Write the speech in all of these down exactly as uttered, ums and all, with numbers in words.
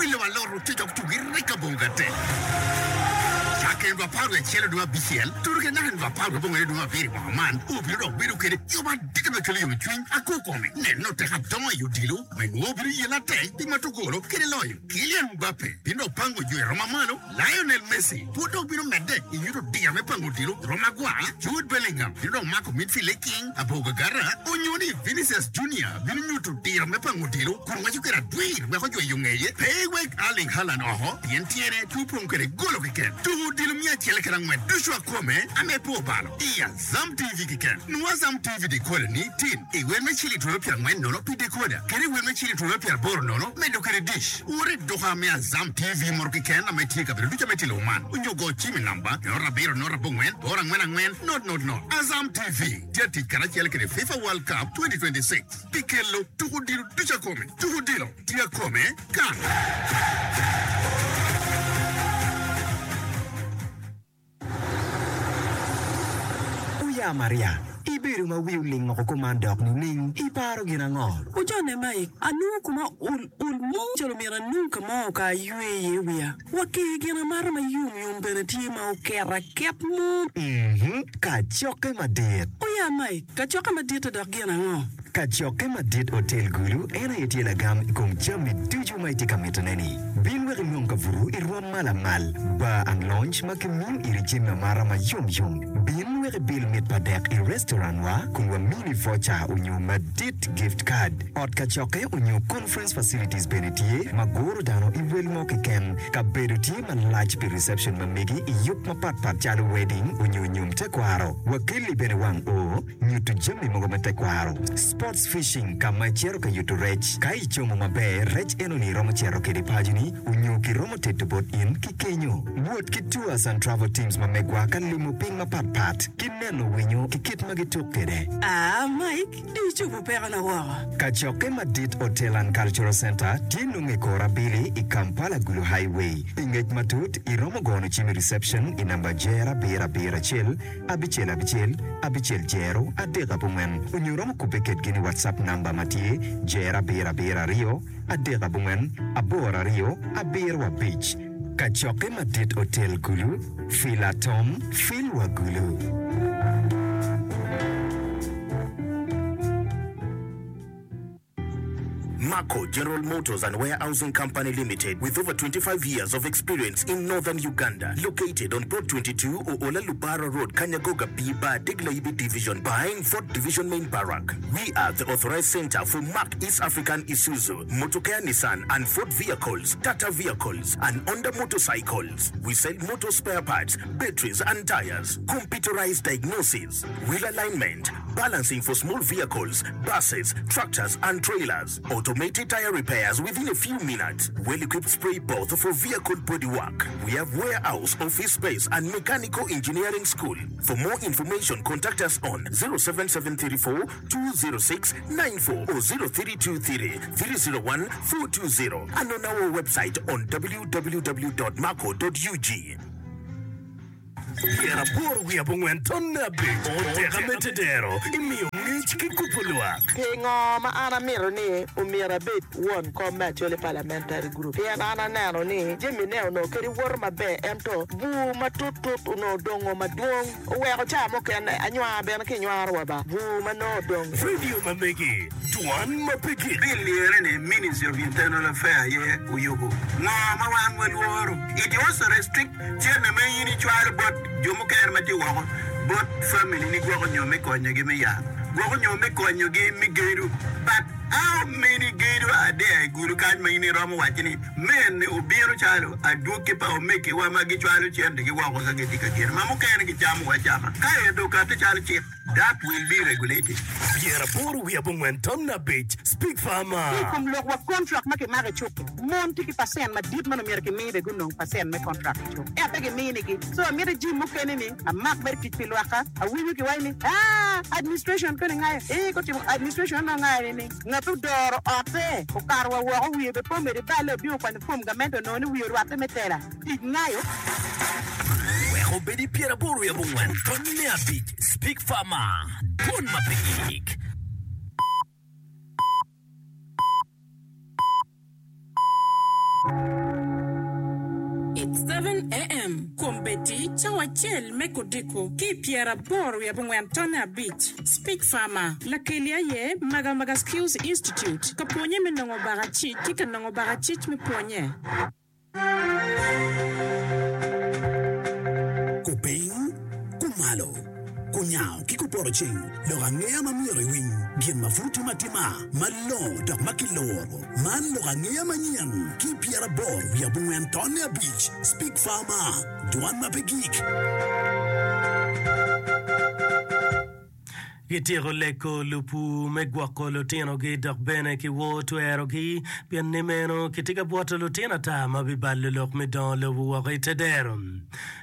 Wilo alot ococok tugi reka bongo gate. Cakke nino apar wiye acel dwe abicel tudo ki naka nino apar wiye abongwen dwe abiro i mwaka man, obino dok bedo kede yub adita me kelo yomcwiny akokome. Neno tek adongo i odilo me nwo obino yelo atek pi mato golo kede loyo. Kylian Mbappe bino dok pango jo i roma malo. Lionel Messi pud dok bino medde i nyuto diro me pango odilo i roma agwar. Jude Bellingham bino dok mako midfield i king abor gagara. Onyo ni Vinicius Junior bino nyuto diro me pango odilo kun waco kede adwir wek ojweyo ngeye. Pe iwek Erling Haaland oko pien tyene pe opong kede golo keken. Tuko odilo miya acel kede angwen ducu akome ame pe obalo i Azam T V keken. Nwo Azam T V decoder ni tin i wel me ciling twero pyera angwen nono pi decoder kede i wel me ciling twero pyera aboro nono medo kede dish. Wot i duka me Azam T V moro keken ame tye i kabedo ducu ame tye i lobo man onyo go cim i namba nono abiro nono abongwen aboro angwen angwen not not not. Azam T V tye atic karacel kede FIFA World Cup twenty twenty-six pi kelo tuko odilo ducu akome. Tuko odilo tye akome kan. Oya Maria, ibedo ma wi oling woko kuman dok nining? Iparo gin ango? Ojone Mike, anongo kuma ol ol mo calo myero anong ka mo ka aywe iye wiya. Wa ki gin amata ma yom yom bene tye ma oketo aket mo. Mhm, kacokke madit. Oya Mike, kacokke madit-te dok gin ango? Kacokke madit Otel Gulu en aye tye lagam i kom jami ducu ma itye ka mitone-ni. Bin wek inong kabuto i rwom ma lamal, bar and lounge ma kimiyo iri jami amata ma yom yom. Bin wek ibil mit pa dek i restaurant wa kun wamini voucher onyo madit gift card. Ot kacokke onyo conference facilities bene tye ma guro dano i wel mo keken. Kabedo tye malac pi reception ma megi i yub mapat pat calo wedding onyo nyom tekwaro. Wakelli bene wang oo. Nyuto jami mogo me tekwaro. Sports fishing ka ma icito ka yuto rec. Ka icomo maber, rec enoni iromo cito kede paconi onyo kiromo teto bot in ki kenyo. Wot ki tours and travel teams ma megwa ka limo piny mapat pat ki neno winyo ki kit ma gituk kede. Aa Mike, dong icobo pekona woko. Kacokke madit Hotel and Cultural Centre tye nongo i kor abili i Kampala Gulu Highway. Pi ngec matut, iromo gono cim i reception i namba jer abiro abiro acel abicel abicel abicel jero adek abongwen onyo romo kubbe kedgi ni WhatsApp namba ma tye jero abiro abiro aryo adek abongwen aboro aryo abiro abic. Kacokke madit Otel Gulu, Fil Atom, Fil wa Gulu. Marco General Motors and Warehousing Company Limited, with over twenty-five years of experience in Northern Uganda, located on Plot twenty-two, Oola Lubara Road, Kanyagoga B Bar, Degla-Ibi Division, behind Fort Division Main Barrack. We are the authorized center for Mack East African Isuzu, Motokea Nissan and Ford vehicles, Tata vehicles, and Honda motorcycles. We sell motor spare parts, batteries and tires, computerized diagnosis, wheel alignment, balancing for small vehicles, buses, tractors and trailers, automated tire repairs within a few minutes, well-equipped spray booth for vehicle body work. We have warehouse, office space and mechanical engineering school. For more information, contact us on zero seven seven three four two zero six nine four or zero three two three three zero one four two zero and on our website on w w w dot marco dot u g. Pyeraboro wiye abongwen tonne abic oteka me tedero imiyo ngec ki kubo lwak. Pingo ma an amito ni omyero abed won kom me Acholi Parliamentary Group? Pien an aneno ni jamine onongo kadi woto maber ento bur matut tut onongo odongo madwong oweko ca mukene anywar bene ki nywaro wa ba bur ma nongo odong. Radio ma megi dwan ma pe gik. Bill lire ni Ministry of Internal Affairs aye oyubo. Ngo ma wan walworo? It also restrict cente ma in icwalo bot jo mukene ma tye woko bot family ni gwoko nyo me konyogi me yat, gwoko nyo me konyogi me gedo. But how many gedo are there i Gulu kany ma in iromo waco ni mene obino calo adwogi pa omegiwa ma gicwalo centegi woko ka gitye ka gedo ma mukene gicamo acama ka ento okati calo cik that will be regulated. Pyeraboro wiye abongwen tam na abic Speak Farmer. Ki i kom lok wa kontrak ma kimako i cuk-ki, mon tye ki pacent madit ma nongo myero kimi bene gunong pacent me kontrak i cuk ento pe giminigi. So amito jim mukene ni amak mere tic pi lwakka. Awinyo kiwaco ni aa administration koni ngayo ee kotimo administration onongo ngayo ni ni ngat odoro otte okato wa woko wiye bene pe omedo iballe obino okwanyo form gamente onongo ni wiye orwatte me tela tic ngayo. Wek obed i pyeraboro wiye abongwen tonne abic Speak Farmer, Dwon ma pe gik. ten AM, Kombeddi cawa acel me kodiko ki i pyeraboro wiye abongwen tonne abic. Speak Farmer, Lakeli aye Magamaga Skills Institute, ka pwonye me nongo bakacic ki ka nongo bakacic me pwonye. Kupiny, kumalo, kunyango ki kupoto ceng, lok angeya ma myero iwiny, gin ma pud timo atima, malongo dok ma kiloro. Man lok angeya manyen ki pyeraboro wiye abongwen tonne abic. Speak Farmer, dwan ma pe gik. Gityeko leko lupur me gwoko lutinogi dok bene kiwor twerogi, pien ni meno kitye ka bwoto lutino ata ma bibalo lok me dongo lobo woko i te dero.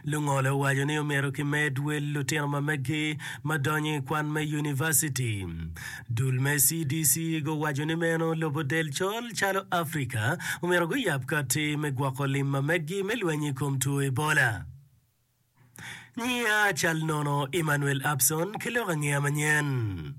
Lungolo owaco ni omyero kimed wel lutino ma meggi ma donyo i kwan me univaciti. Dul me C D C guwaco ni meno lobo del col calo Afrika omyero guyab kati me gwoko lim ma meggi me lweny i kom two Ebola. Nyiya cal nono Emmanuel Abson ki lok angeya manyen.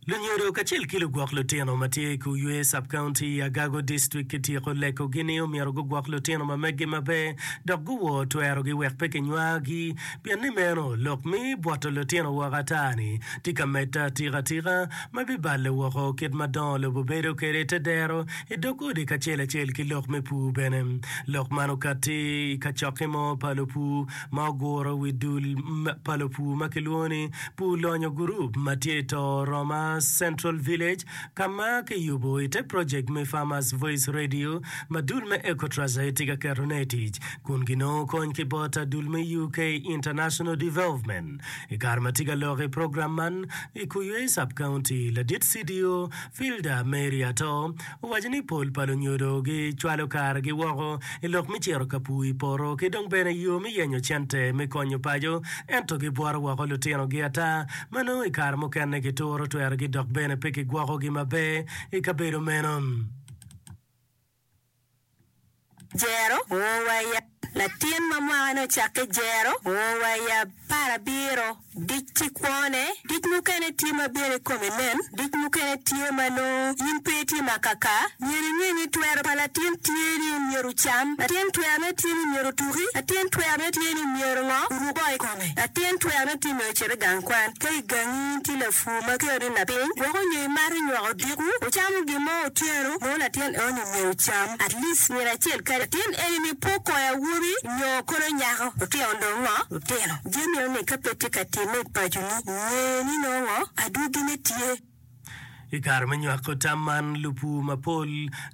Lunyodo kacel ki lugwok lutino ma tye i Kuywe Sub-County i Agago District kityeko lekogi ni omyero gugwok lutino ma meggi maber dok guwor twerogi wek pe kinywagi pien ni meno lok mi bwoto lutino woko ata-ni tye ka medde atika atika ma bibalo woko kit ma dongo lobo bedo kwede i te dero i dog odi kacel acel ki lok me pur bene. Lok man okatti i kacokke mo pa lupur ma oguro wi dul pa lupur ma kilwongo ni Pur Lonyo Gurup ma tye i to Roma Central Village ka ma kiyubo i te projek me Farmers Voice Radio ma dul me Ecotrust aye tye ka ketone i tic kun ginongo kony ki bot adul me U K International Development. I kare ma tye ka lok i program man i Kuywe Sub-County, ladit C D O Filda Mary Ato owaco ni pol pa lunyodo gicwalo karegi woko i lok me cito ka pur i poto ki dong bene yo me yenyo cente me konyo paco ento gibwoto woko lutinogi ata ma nongo i kare mukene gituro twerogi dok bene pe kigwokogi maber i kabedo meno. Jero o wa i Latin ma mwakane ocakke jero o wa i apar abiro. Dic tye kwone. Dic mukene tye ma bino i kome nen. Dic mukene tye ma nongo in pe itye ma kaka. Myero inge ni twero pa latin tye ni myero ocam. Latin twerone tye ni myero otuki. Latin twerone tye ni myero ngo oruk bongo i kome. Latin twerone tye myero ocit i gang kwan. Ka i gangi in tye lapur ma kelo ni lapiny, gwoko nyo imato nywako odiko, wucamo gin mo otyeno, nongo latin eno-ni myero ocam at least nino acel kadi latin eni-ni pe okoyo awobi nyo kono nyako, lutino dong ngo? Lutino. Jami eno-ni ka pe tye ka timme i paconi, nge ni nongo ngo? Adwogine tye. I kare me nywako tam man, lupur mapol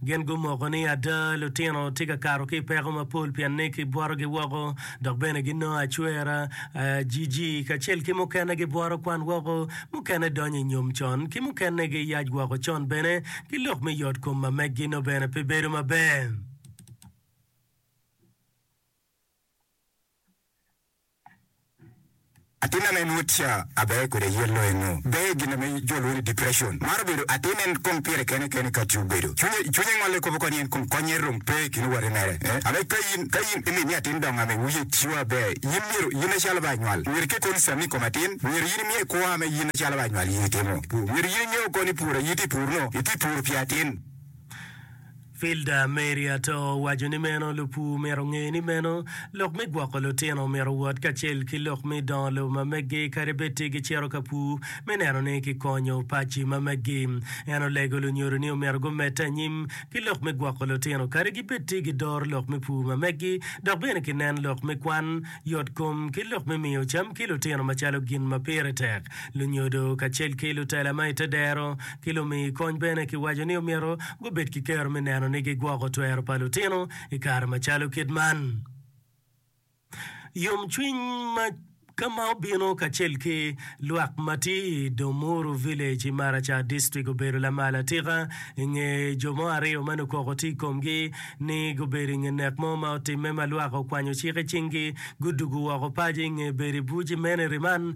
gin gumoko ni ada lutino tye ka kato ki i peko mapol pien ni kibwotogi woko dok bene ginongo acwera, G G kacel ki mukene gibwoto kwan woko, mukene donyo i nyom con ki mukene giyac woko con bene ki lok me yot kom ma meggi nongo bene pe bedo maber. Atin ame nwo tica aber kwede yel loyo nwo ber gin ame jo lwongo ni depression. Mar obedo atin en kong pire kene kene ka tye obedo. Cwinye cwinye ngole kobo koni en kong konye rom pe i kin owate mere. Eh, ame ka in ka in imi ni atin dongo ame wiye tiyo aber in myero in acalo ba anywal myero ike concern i kom atin myero in imiye kwo ame in acalo ba anywal in itimo. Myero in ingeo koni pur aye itye pur no itye pur pi atin. Filda Mary Ato owaco ni meno lupur myero onge ni meno lok me gwoko lutino myero owot kacel ki lok me dongo lobo ma meggi kadi bed tye gicito ka pur me neno ni kikonyo paci ma meggi. En olego lunyodo ni omyero gumedde anyim ki lok me gwoko lutino kadi gibed tye gidoro lok me pur ma meggi dok bene kinen lok me kwan, yot kom ki lok me miyo cam ki lutino macalo gin ma pire tek. Lunyodo kacel ki lutela ma i te dero ki lumi kony bene kiwaco ni omyero gubed ki kero me neno ni gigwoko twero pa lutino i kare macalo kit man. Yomcwiny ma ka ma obino kacel ki lwak ma tye i Domuru Village i Maracha District obedo lamal atika i nge jo mo aryo ma nukoko tye i komgi ni gubedo i nge nek mo ma otimme ma lwak okwanyo cik i cinggi gudugu woko paco i nge bedo i buc i mene riman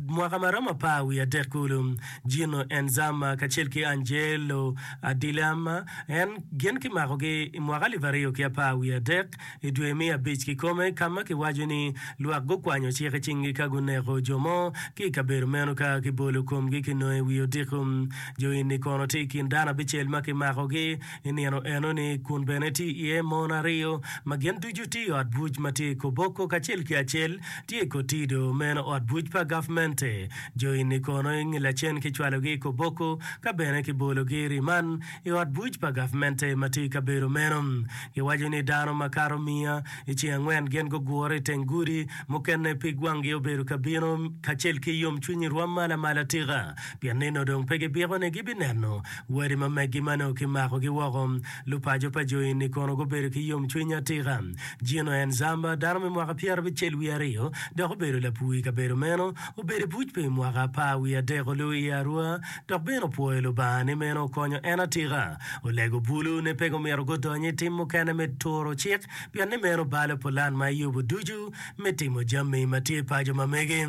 mwaka ma romo apar wiye adek kulu. Gino Enzama kacel ki Angelo Adilama en gin kimakogi i mwaka alip aryo ki apar wiye adek i dwe me abic kikome ka ma kiwaco ni lwak gukwanyo cik i cing cinggi ka guneko jo mo ki i kabedo meno ka kibolo komgi kinongo i wi odiko. Jo eni kono tye i kin dano abicel ma kimakogi i nino enoni kun bene tye iye mon aryo ma gin ducu tye i ot buc ma tye i Koboko kacel ki acel tye i Kotido meno ot buc pa gavmente. Jo eni kono i nge lacen kicwalogi i Koboko ka bene kibologi i riman i ot buc pa gavmente ma tye i kabedo meno. Giwaco ni dano makato miya i ceng angwen gin gugure i teng gudi, mukene pig wanggi obedo ka bino kacel ki yomcwiny i rwom ma lamal atika, pien nino dong pe gibiko ni gibineno wadi ma meggi ma nongo kimakogi woko. Lupaco pa jo eni kono gubedo ki yomcwiny atika. Gino Enzamba, dano me mwaka pyerabicel wiye aryo dok obedo lapur i kabedo meno, obedo i buc pi mwaka apar wiye adek olu i Arua dok bene opwoyo Lubanga ni meno okonyo en atika. Olego bulu ni pe gumito gudony i tim mukene me turo cik pien ni meno balo pulan ma eyubo ducu me timo jami ma tye paco ma mege.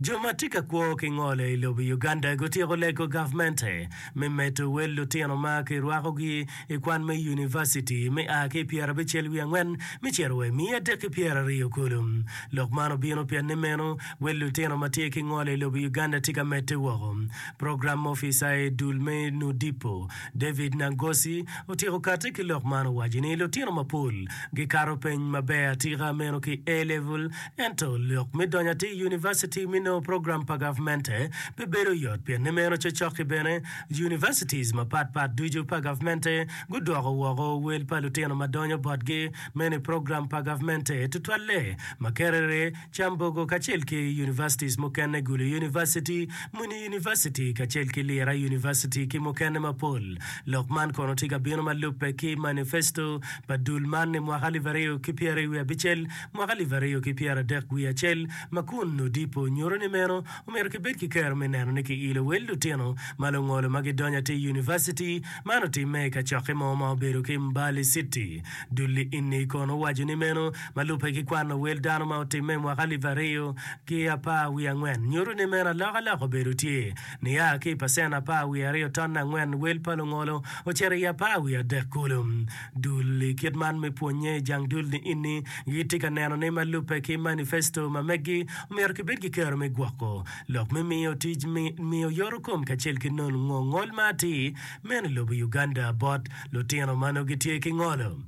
Jo ma tye ka kwo ki ngolo i lobo Uganda gutyeko lego gavmente me medo wel lutino ma kirwakogi i kwan me univaciti me a ki i pyerabicel wiye angwen me cito wa i miya adek ki pyeraryo kulu. Lok man obino pien ni meno wel lutino ma tye ki ngolo i lobo Uganda tye ka medde woko. Program Officer i dul me Nudipo, David Nangosi otyeko kati ki lok man owaco ni lutino mapol gikato peny maber atika meno ki A-level ento lok me donyo atir i univaciti me nongo program pa gavmente pe bedo yot pien ni meno cocok-ki bene universities mapat pat ducu pa gavmente gudwoko woko wel pa lutino ma donyo botgi meno i program pa gavmente tutwalle Makerere, Kyambogo kacel ki universities mukene Gulu University, Muni University kacel ki Lira University ki mukene mapol. Lok man kono tye ka bino ma lubbe ki manifesto pa dul man i mwaka alip aryo ki pyeraryo wiye abicel, mwaka alip aryo ki pyeradek wiye acel ma kun Odipo nyuto ni meno omyero kibed ki kero me neno ni kiilo wel lutino ma lungolo ma gidonyo atir i univaciti. Man otimme i kacokke mo ma obedo ki Mbale City. Dul-li eni kono owaco ni meno ma lubbe ki kwano wel dano ma otimme i mwaka alip aryo ki apar wiye angwen nyuto ni meno alokaloka obedo tye nia ki i pacen apar wiye aryo tonne angwen wel pa lungolo ocito i apar wiye adek kulu. Dul i kit man me pwonye i jang dul ni ini gitye ka neno ni ma lubbe ki manifesto ma meggi omyero kibed ki kero me gwoko lok me miyo tic miyo yoto kom kacel ki nongo ngol ma atir meno i lobo Uganda bot lutino ma nongo gitye ki ngolo.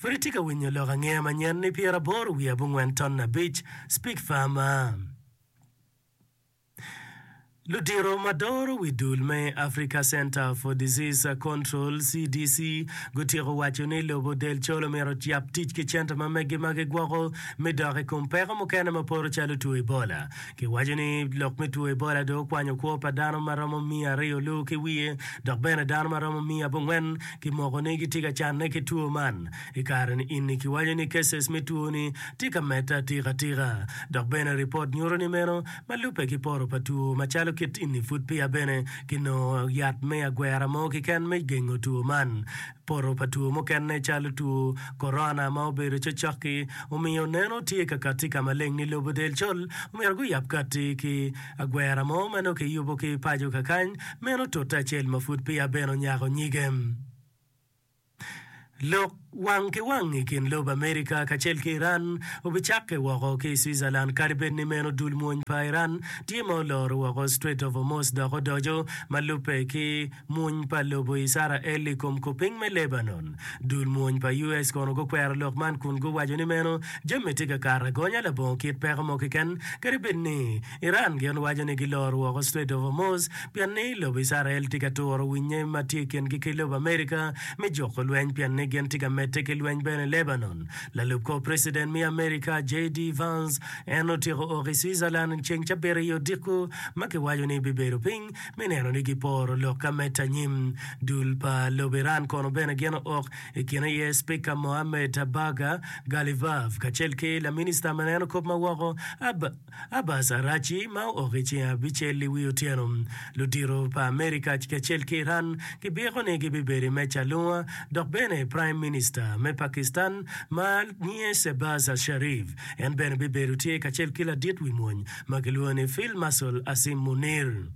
Pud itye ka winyo lok angeya manyen ni pyeraboro wiye abongwen ton abic Speak Farmer. Ludito ma doro wi dul me Africa Centre for Disease Control, C D C, gutyeko waco ni lobo del col omyero oyab tic ki cente ma meggi ma gigwoko me dok i kom peko mukene ma poto calo two Ebola. Kiwaco ni lok me two Ebola dong okwanyo kwo pa dano ma romo miya aryo lu ki wiye dok bene dano ma romo miya abongwen kimoko ni gitye ka canne ki two man. I kare-ni ini kiwaco ni cases me two-ni tye ka medde atika atika dok bene ripot nyuto ni meno Ma lubbe ki poto pa two macalo kit eni pud peya bene kinongo yat me agwera mo keken me gengo two man. Poto pa two mukene calo two korona ma obedo cocok-ki omiyo neno tye ka katti ka maleng ni lobo del col omyero guyab katti ki agwera mo ma nongo kiyubo ki paco kakany meno tute acel ma pud peya bene onyako nyige. Lok wang ki wang i kin lobo Amerika kacel ki Iran obicakke woko ki i Switzerland kadi bed ni meno dul mwony pa Iran tye ma oloro woko Strait of Hormuz dok odoco ma lubbe ki mwony pa lobo Icrael i kom kupiny me Lebanon. Dul mwony pa U S kono gukwero lok man kun guwaco ni meno jami tye ka kato agonya labongo kit peko mo keken kadi bed ni Iran gin waco ni giloro woko Strait of Hormuz pien ni lobo Icrael tye ka turo winye ma tye i kingi ki lobo Amerika me juko lweny pien ni gin tye ka medde ki lweny bene i Lebanon. Lalub kor Preciden me Amerika J D Vance en otyeko ok i Switzerland ceng cabit i odiko ma kiwaco ni bibedo piny me neno ni giporo lok ka medde anyim. Dul pa lobo Iran kono bene gin ook i kine iye Spika Mohammed Bagher Ghalibaf kacel ki laminista ma neno kop ma woko Abbas Araghchi ma ook i ceng abicel i wi otyeno. Ludito pa Amerika kacel ki Iran gibyeko ni gibibedo i meja alunga dok bene Prime Minister me Pakistan ma nyinge Shehbaz Sharif en bene bibedo tye kacel ki ladit wi mony ma kilwongo ni Field Marshal Asim Munir.